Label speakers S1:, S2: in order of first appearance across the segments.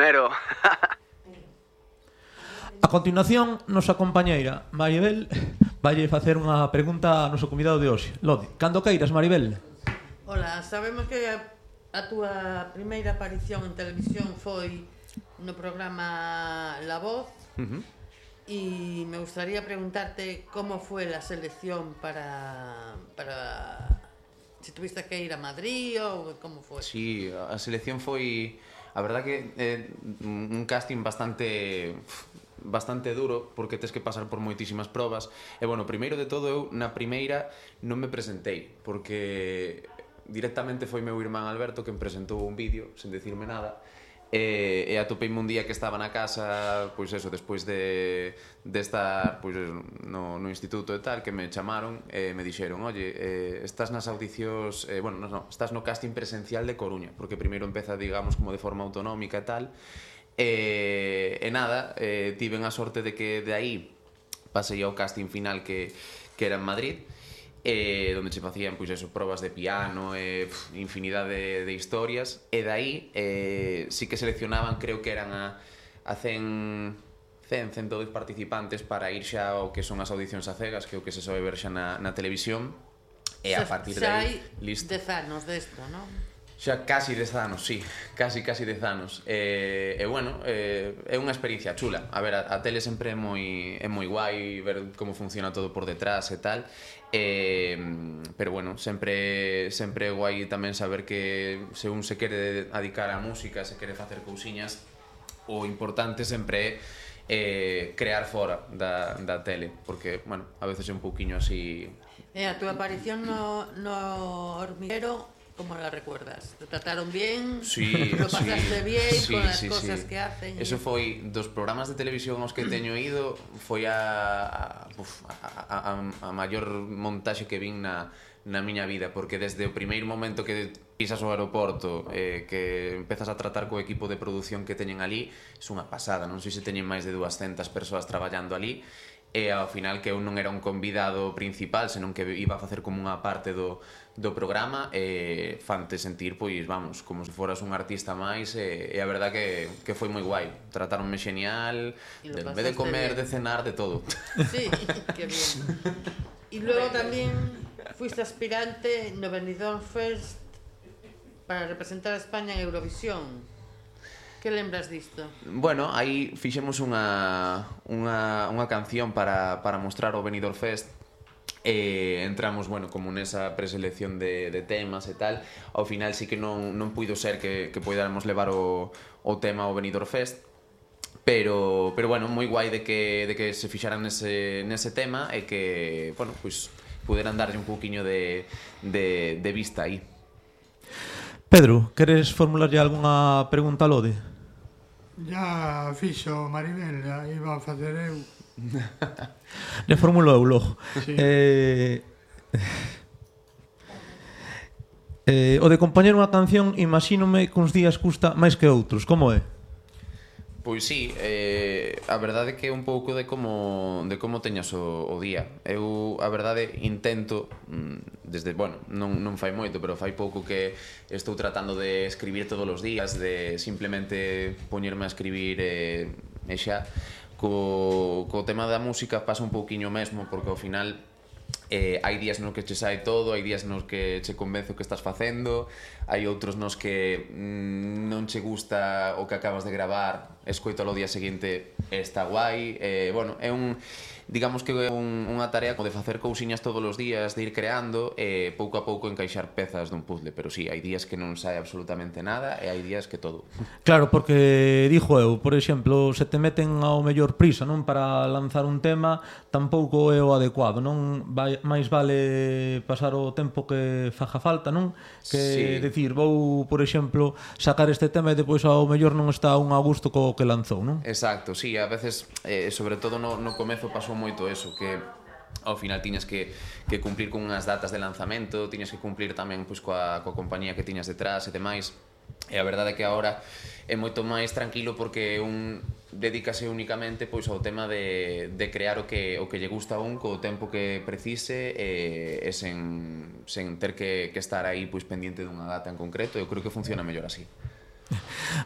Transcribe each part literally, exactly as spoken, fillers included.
S1: primero.
S2: A continuación, nosa compañeira Maribel valle facer unha pregunta ao noso convidado de hoxe. Lodi, cando queiras, Maribel.
S3: Ola, sabemos que a, a túa primeira aparición en televisión foi no programa La Voz.
S4: Uh-huh.
S3: Y me gustaría preguntarte cómo fue la selección para, para si tuviste que ir a Madrid o cómo fue.
S4: Sí, a selección foi, a verdad que eh, un casting bastante bastante duro, porque tes que pasar por moitísimas probas. E bueno, primeiro de todo eu na primeira non me presentei, porque directamente foi meu irmán Alberto quen presentou un vídeo sen decirme nada. E, e atopeime un día que estaba na casa, pois eso, despois de, de estar pois, no, no instituto e tal, que me chamaron e me dixeron, oye, eh, estás nas audicións, eh, bueno, no, no, estás no casting presencial de Coruña, porque primeiro empeza, digamos, como de forma autonómica e tal, e, e nada, eh, tiven a sorte de que de aí pasei ao casting final que, que era en Madrid, eh, donde se facían pois eso, probas de piano e pff, infinidade de, de historias, e dai eh, sí que seleccionaban, creo que eran a, a cen, cen, cento dez participantes para ir xa ao que son as audicións a cegas, que é o que se sobe ver xa na, na televisión, e a partir de aí, listo.
S3: Xa hai dez anos desto, non?
S4: Xa casi dez anos, sí, casi, casi dez anos. E, e bueno, eh, é unha experiencia chula. A ver, a, a tele sempre é moi, é moi guai ver como funciona todo por detrás e tal. Eh, pero bueno, sempre sempre é guai tamén saber que se un se quere dedicar á música, se quere facer cousiñas, o importante sempre é eh, crear fora da, da tele, porque, bueno, a veces é un pouquiño así.
S3: E a túa aparición no, no Hormiguero, ¿cómo la recuerdas? ¿Te trataron bien?
S4: Sí,
S3: ¿Lo pasaste
S4: sí,
S3: bien
S4: sí,
S3: con las
S4: sí,
S3: cosas
S4: sí.
S3: que hacen?
S4: Eso foi dos programas de televisión aos que teño ido, foi a, a, uf, a, a, a maior montaxe que vin na, na miña vida, porque desde o primeiro momento que pisas o aeroporto, eh, que empezas a tratar co equipo de produción que teñen ali, é unha pasada, non sei se teñen máis de duascentas persoas traballando ali, e ao final que eu non era un convidado principal, senón que iba a facer como unha parte do, do programa, e fante sentir, pois, vamos, como se foras un artista máis, e, e a verdad que, que foi moi guai, tratáronme xenial, de, en vez de comer, bien. De cenar, de todo.
S3: Sí, que bien. Y luego tamén fuiste aspirante no Benidorm Fest para representar a España en Eurovisión. Que lembras disto?
S4: Bueno, aí fixemos unha, unha, unha canción para, para mostrar o Benidorm Fest, e entramos, bueno, como nesa preselección de, de temas e tal. Ao final sí que non, non puido ser que, que podáramos levar o, o tema ao Benidorm Fest, pero, pero bueno, moi guai de que, de que se fixaran nese, nese tema, e que, bueno, pois puderan darlle un pouquiño de, de, de vista aí.
S2: Pedro, queres formularlle algunha pregunta a Lode?
S5: Ya fixo Maribel, ya iba a facer eu.
S2: Le formulo eu logo.
S5: Sí.
S2: Eh, eh, o de compoñer unha canción, imagínome que uns días custa máis que outros, como é?
S4: Pois sí, eh, a verdade que é un pouco de como de como teñas o, o día. Eu, a verdade, intento desde, bueno, non, non fai moito, pero fai pouco que estou tratando de escribir todos os días, de simplemente poñerme a escribir e, e xa. Co, co tema da música pasa un pouquiño mesmo, porque ao final eh, hai días nos que che sai todo, hai días nos que che convence o que estás facendo, hai outros nos que mm, non che gusta o que acabas de gravar, escoitalo o día seguinte e está guai. Eh, bueno, é un, digamos que é un, unha tarea de facer cousiñas todos os días, de ir creando e pouco a pouco encaixar pezas dun puzzle, pero sí, hai días que non sai absolutamente nada e hai días que todo.
S2: Claro, porque dixo eu, por exemplo, se te meten ao mellor prisa, non, para lanzar un tema, tampouco é o adecuado, non? Vai, máis vale pasar o tempo que faja falta, non? Que sí. Decir, vou, por exemplo, sacar este tema e depois ao mellor non está un a gusto co que lanzou, non?
S4: Exacto, sí, a veces, eh, sobre todo no, no comezo pasou moito eso, que ao final tiñas que, que cumplir con unhas datas de lanzamento, tiñas que cumplir tamén pois, coa, coa compañía que tiñas detrás e demais, e a verdade é que agora é moito máis tranquilo porque un dedícase únicamente pois ao tema de, de crear o que, o que lle gusta a un co tempo que precise e, e sen, sen ter que, que estar aí pois, pendiente dunha data en concreto. Eu creo que funciona mellor así.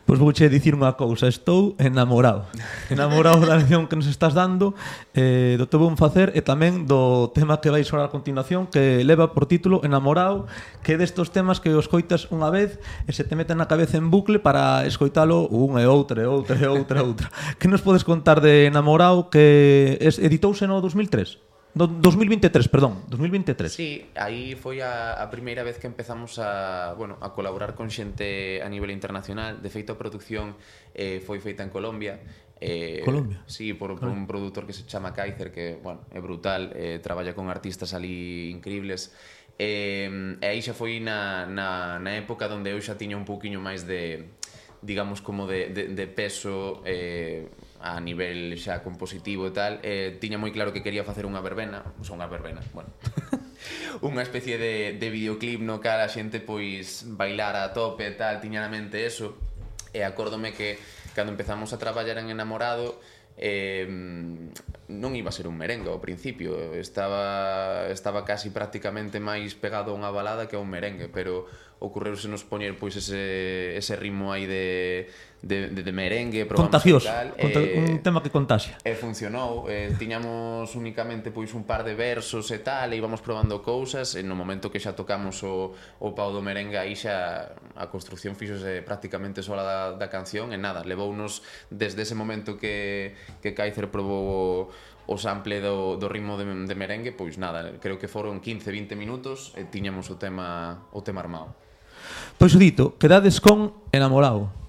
S2: Pois vouche dicir unha cousa, estou enamorado. Enamorado da lección que nos estás dando, eh, do teu bon facer e tamén do tema que vais orar a continuación, que leva por título Enamorado, que é destos temas que os coitas unha vez e se te meten na cabeza en bucle para escoitalo unha e outra e outra e outra e outra. Que nos podes contar de Enamorado, que es, editouse no dos mil tres? No, dos mil vinte e tres, perdón, dos mil vinte e tres.
S4: Sí, aí foi a, a primeira vez que empezamos a, bueno, a colaborar con xente a nivel internacional. De feito, a produción eh, foi feita en Colombia. Eh,
S2: Colombia?
S4: Sí, por, por un produtor que se chama Kaiser, que, bueno, é brutal, eh, traballa con artistas ali increíbles. Eh, e aí xa foi na, na, na época onde eu xa tiña un pouquiño máis de, digamos, como de, de, de peso eh, a nivel xa compositivo e tal. Eh, tiña moi claro que quería facer unha verbena, o sea, unha verbena, bueno, unha especie de, de videoclip no cal a xente pois bailar a tope e tal, tiña na mente eso. E acórdome que cando empezamos a traballar en Enamorado, eh, non iba a ser un merengue ao principio, estaba estaba casi prácticamente máis pegado a unha balada que a un merengue, pero ocorreuse nos poñer pois ese ese ritmo aí de de de, de merengue,
S2: contagioso,
S4: tal,
S2: conta,
S4: eh,
S2: un tema que contaxia.
S4: E funcionou, eh, tiñamos únicamente pois un par de versos e tal, e íbamos probando cousas, e no momento que xa tocamos o, o pau do merengue, aí xa a construcción fixose prácticamente sola da, da canción, e nada, levounos desde ese momento que, que Kaiser probou o sample do, do ritmo de, de merengue, pois nada, creo que foron quince a vinte minutos e tiñamos o tema, o tema armado.
S2: Pois o dito, quedades con Enamorado.